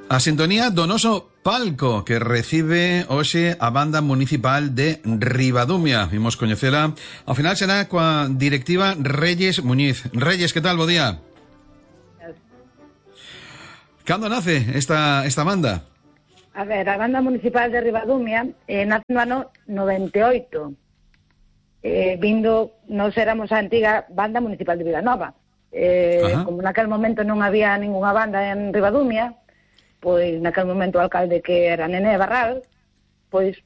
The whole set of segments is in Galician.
A sintonía do noso palco que recibe hoxe a banda municipal de Ribadumia. Vimos coñecela. Ao final será coa directiva Reyes Muñiz. Reyes, que tal? Bo día. Cando nace esta banda? A ver, a banda municipal de Ribadumia nace no ano 98. Nos éramos a antiga banda municipal de Vilanova. Como naquel momento non había ninguna banda en Ribadumia, pois naquel momento o alcalde, que era Nené Barral, pois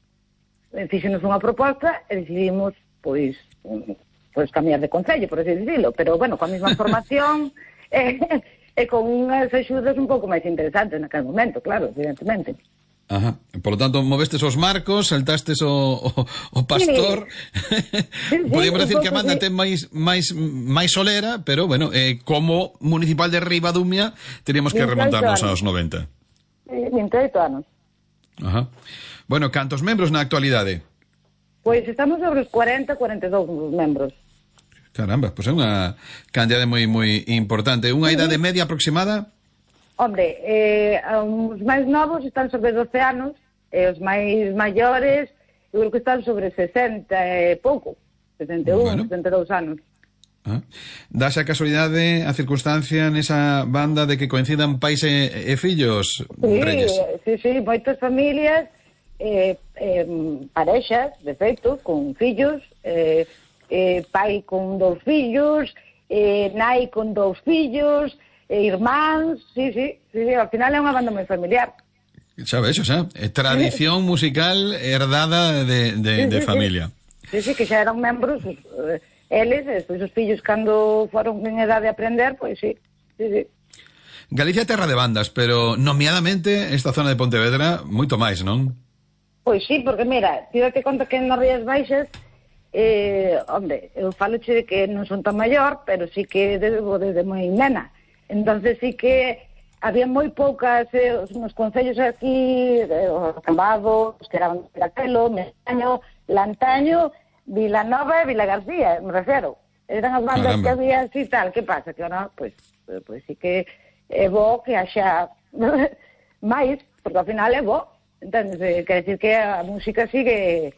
fixenos unha proposta e decidimos pois cambiar de concello, por así dicilo, pero bueno, coa mesma formación e con unhas axudas un pouco máis interesantes naquel momento, claro, evidentemente. Ajá. Por lo tanto, movestes os marcos, saltastes o pastor. Sí. Podíamos decir que a banda ten máis solera, pero bueno, como municipal de Ribadumia teríamos que remontarnos aos 90. 28 anos. Ajá. Bueno, cantos membros na actualidade? Pois estamos sobre os 42 membros. Caramba, pois é unha cantidade moi importante. Unha idade media aproximada? Hombre, os máis novos están sobre 12 anos, e os máis maiores eu creo que están sobre 60 e pouco, 61, bueno. 62 anos. Dase a casualidade, a circunstancia nesa banda de que coincidan pais e fillos, Reyes? Sí, moitas familias, parexas, de feito, con fillos, pai con 2 fillos, nai con 2 fillos, irmáns, sí, ao final é unha banda moi familiar. Xa ves, tradición musical herdada de familia. Sí, que xa eran membros, eles, despois os fillos cando foron en edade de aprender, pois sí. Galicia é terra de bandas, pero nomeadamente esta zona de Pontevedra moito máis, non? Pois sí, porque mira, ti date conta que nas Rías Baixas, hombre, eu faloche de que non son tan maior, pero sí que desde moi nena. Entonces sí que había moi poucas nos concellos aquí, os Cambados, que eran Piracelo, Mestaño, Lantaño, Vilanova e Vilagarcía, me refero. Eran as bandas que había así tal. Que pasa? Que ahora, pois sí que é bo que haxa máis, porque ao final é bo. Entonces, quer decir que a música sigue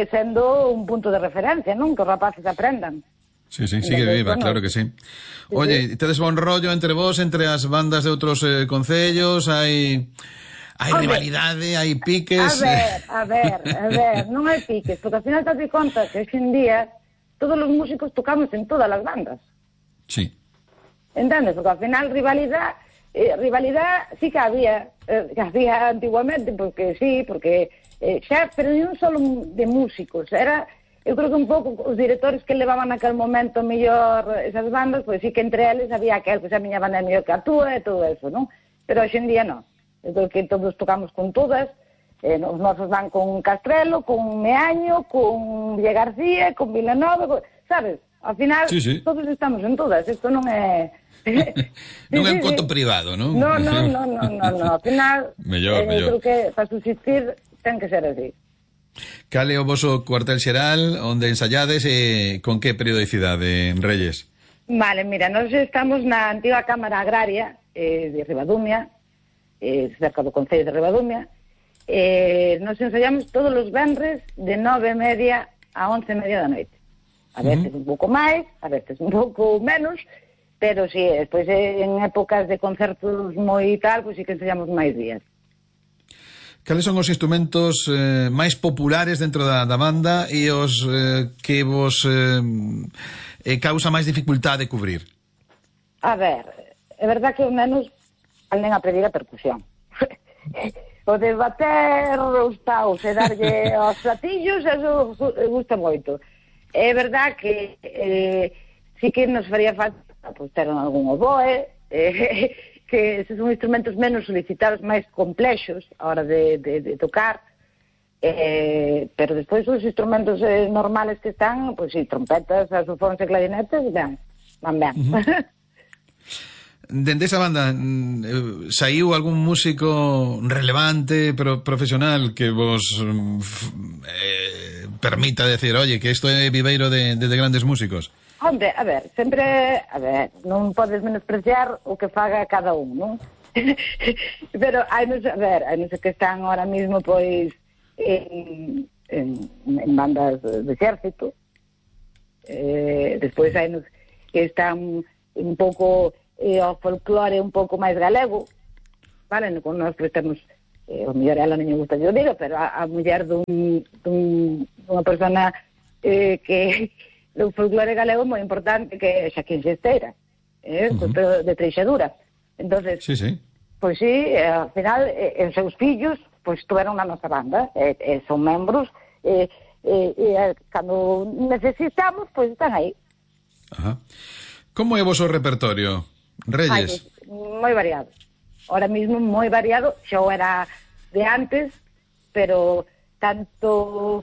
sendo un punto de referencia, non? Que os rapaces aprendan. Sí, sigue viva, claro que sí. Oye, tedes bon rollo entre vos, entre as bandas de outros concellos, hai rivalidade, hai piques... A ver, non hai piques, porque ao final te das conta que hoxe en día todos os músicos tocamos en todas as bandas. Sí. Entendes? Porque ao final rivalidade sí que había antiguamente, porque xa, pero non só de músicos, era... Eu creo que un pouco os directores que levaban naquele momento mellor esas bandas, pois sí que entre eles había aquel, pois a miña banda é mellor que a túa e todo eso, non? Pero hoxe en día non. Eu creo que todos tocamos con todas, os nosos van con Castrelo, con Meaño, con Villa García, con Vilanova, sabes? Ao final, todos estamos en todas, isto non é... non é un conto privado, non? Non, ao final, mellor. Eu creo que para subsistir ten que ser así. Cal é o voso cuartel xeral onde ensayades e con que periodicidade, Reyes? Vale, mira, nós estamos na antiga Cámara Agraria de Ribadumia, cerca do Concello de Ribadumia. Nos ensayamos todos os venres de 9:30 a 11:30 da noite. A veces un pouco máis, a veces un pouco menos, pero sí, despois en épocas de concertos moi tal, pois sí que ensayamos máis días. Cales son os instrumentos máis populares dentro da banda e os que vos causa máis dificultade cubrir? A ver, é verdad que os nenos aprenden a pedir a percusión. O de bater os paus e darlle aos platillos, eso gusta moito. É verdad que sí que nos faría falta ter algún oboe, que son instrumentos menos solicitados, máis complexos a hora de tocar, pero despois os instrumentos normales que están, pois sí, trompetas, saxofóns e clarinetes, van ben. Dende esa banda saiu algún músico relevante, profesional, que vos permita decir, oye, que isto é viveiro de grandes músicos? Hombre, a ver, non podes menospreciar o que faga cada un, non? Pero hai non sei que están ahora mismo pois en bandas de exército, despois hai nos que están un pouco ao folclore un pouco máis galego, vale, con nós que temos o mellor ela non me gusta que eu diga, pero a muller dunha persona que do folclore galego moi importante, que é Xaquín Xesteira, de Treixadura. Entonces, sí. Pois sí, ao final, os seus fillos, pois estuveron na nosa banda, son membros, cando necesitamos, pois están aí. Ajá. Como é o vosso repertorio, Reyes? Moi variado. Ahora mismo moi variado, xa o era de antes, pero tanto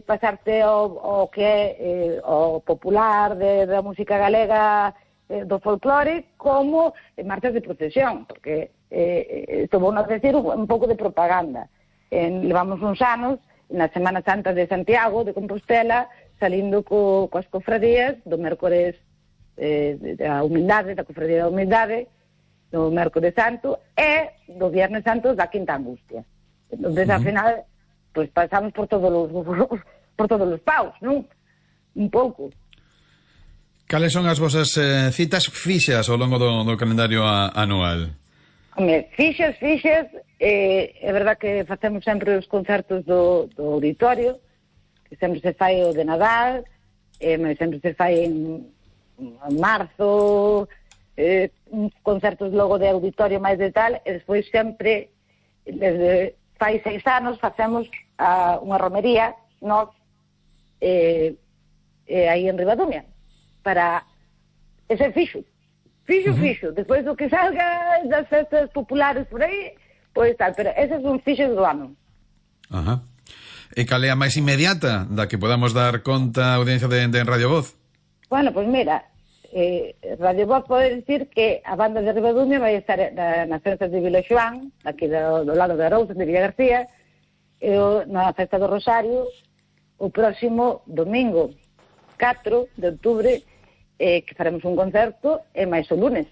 pasarte ao que é o popular da música galega, do folclore, como marchas de procesión, porque isto vou a decir un pouco de propaganda. Levamos uns anos na Semana Santa de Santiago de Compostela, salindo coas cofradías do mércores da humildade, da cofradía da humildade, do mércores santo, e do viernes santo da Quinta Angustia. Entón, ao final, pois pasamos por todos os paus, non? Un pouco. Cales son as vosas citas fixas ao longo do calendario anual? Fixas, é verdad que facemos sempre os concertos do auditorio, que sempre se fai o de Nadal, sempre se fai en marzo, concertos logo de auditorio máis de tal, e despois sempre, desde fai 6 anos, facemos unha romería, nós, aí en Ribadumia, para ese fixo. Despois do que salga das festas populares por aí, pois tal, pero eses son fixos do ano. Ajá. E cal é a máis inmediata da que podamos dar conta a audiencia de Radio Voz? Bueno, pois mira, Radio Voz pode dicir que a banda de Ribadumia vai estar nas festas de Vila Xoán, aquí do lado de Arousa, de Villa García, e na festa do Rosario, o próximo domingo 4 de outubro, que faremos un concerto, e máis o lunes.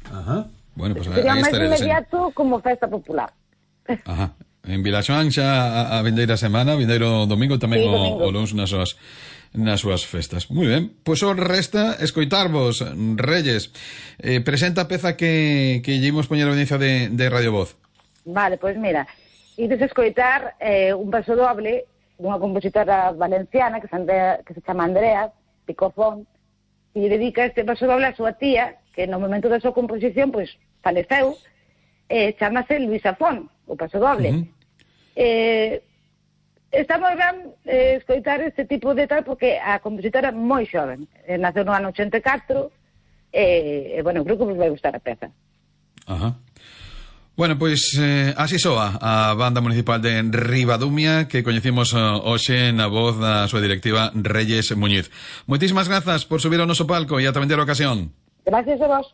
Ajá. Bueno, pues sería máis inmediato como festa popular. Ajá. En Vilaxoán xa a vindeira semana, vindeiro domingo tamén, sí, o luns nas súas festas. Moi ben, pois o resta escoitarvos, Reyes. Presenta a peza que lle imos poñer a audiencia de Radio Voz. Vale, pois mira, ides escoitar un paso doble dunha compositora valenciana que se chama Andrea Picofón, e dedica este paso doble a súa tía, que no momento da súa composición, pois, faleceu, chamase Luisa Fon, o paso doble. Está moi ben escoitar este tipo de tal, porque a compositora é moi xoven, naceu no ano 84, bueno, creo que vos vai gustar a peza. Ajá. Bueno, pois así soa a Banda Municipal de Ribadumia, que coñecimos hoxe na voz da súa directiva Reyes Muñiz. Moitísimas grazas por subir ao noso palco e ata vender a ocasión. Gracias a vos.